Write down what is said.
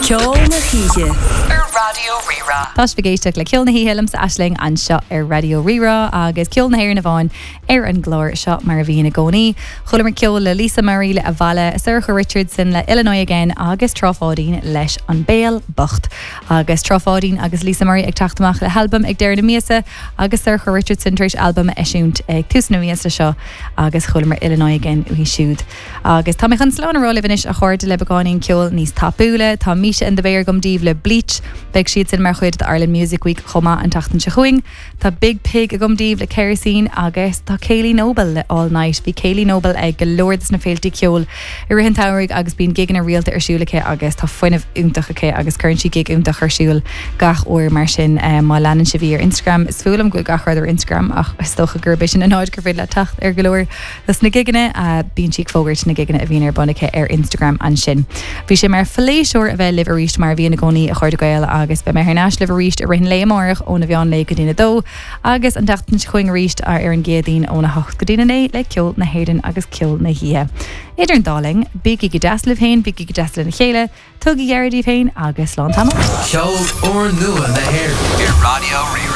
Ceol na hOíche ar Raidió Rí-Rá. Tá sibh ag éisteacht le Ceol na hOíche liomsa Aisling anseo ar Raidió Rí-Rá agus ceol na hÉireann amháin ar an gclár seo mar a bhíonn i gcónaí. Chualamar ceol le Lisa Murray le Abhaile, Sorcha Richardson le Illinois Again agus Trá Pháidín leis An Béal Bocht. Agus Trá Pháidín agus Lisa Murray ag teacht amach le halbam ag deireadh na míosa agus Sorcha Richardson tar éis albam a eisiúint ag tús na míosa seo agus chualamar Illinois Again uaithi siúd. Agus tá mé chun slán a rá libh anois a chairde le beagáinín ceoil níos tapúla. Tá Misha and the Bear agam daoibh le Bleach. Beidh siad sin mar chuid d'Ireland Music Week chomh maith an tseachtain seo chugainn. Tá Biig Piig agam daoibh le Kerosene agus tá Kayleigh Noble le All Night. Bhí Kayleigh Noble ag go leor des na féiltí ceoil i rith an tsamhraidh agus bíonn gigeanna rialta ar siúl aici agus tá fuinneamh iontach aici agus cuireann sí gig iontach ar siúl gach uair mar sin má leanann sibh í ar Instagram is fuath liom go bhfuil gach rud ar Instagram ach is dócha gurb é sin an áit gur féidir leat teacht ar go leor Dos na gigeanna, bíonn sí ag fógairt na gigeanna a bhíonn ar bun aici ar Instagram ansin. Bhí sé mar phléisiúr a bheith libh arís mar a bhíonn i gcónaí, a chairde Gael, agus beidh mé thar n-ais libh arís i rith an lae amárach óna mheán lae go dtí'n 2, agus an tseachtain seo chugainn arís ar an gCéadaoin óna 8 go dtí'n 9 le ceol na hÉireann agus ceol na hoíche. Idir an dá linn, bígí go deas libh féin, bígí go deas lena chéile, tugaigí aire daoibh féin agus slán tamall. Ceol úrnua na hÉireann ar Raidió Rí-Rá.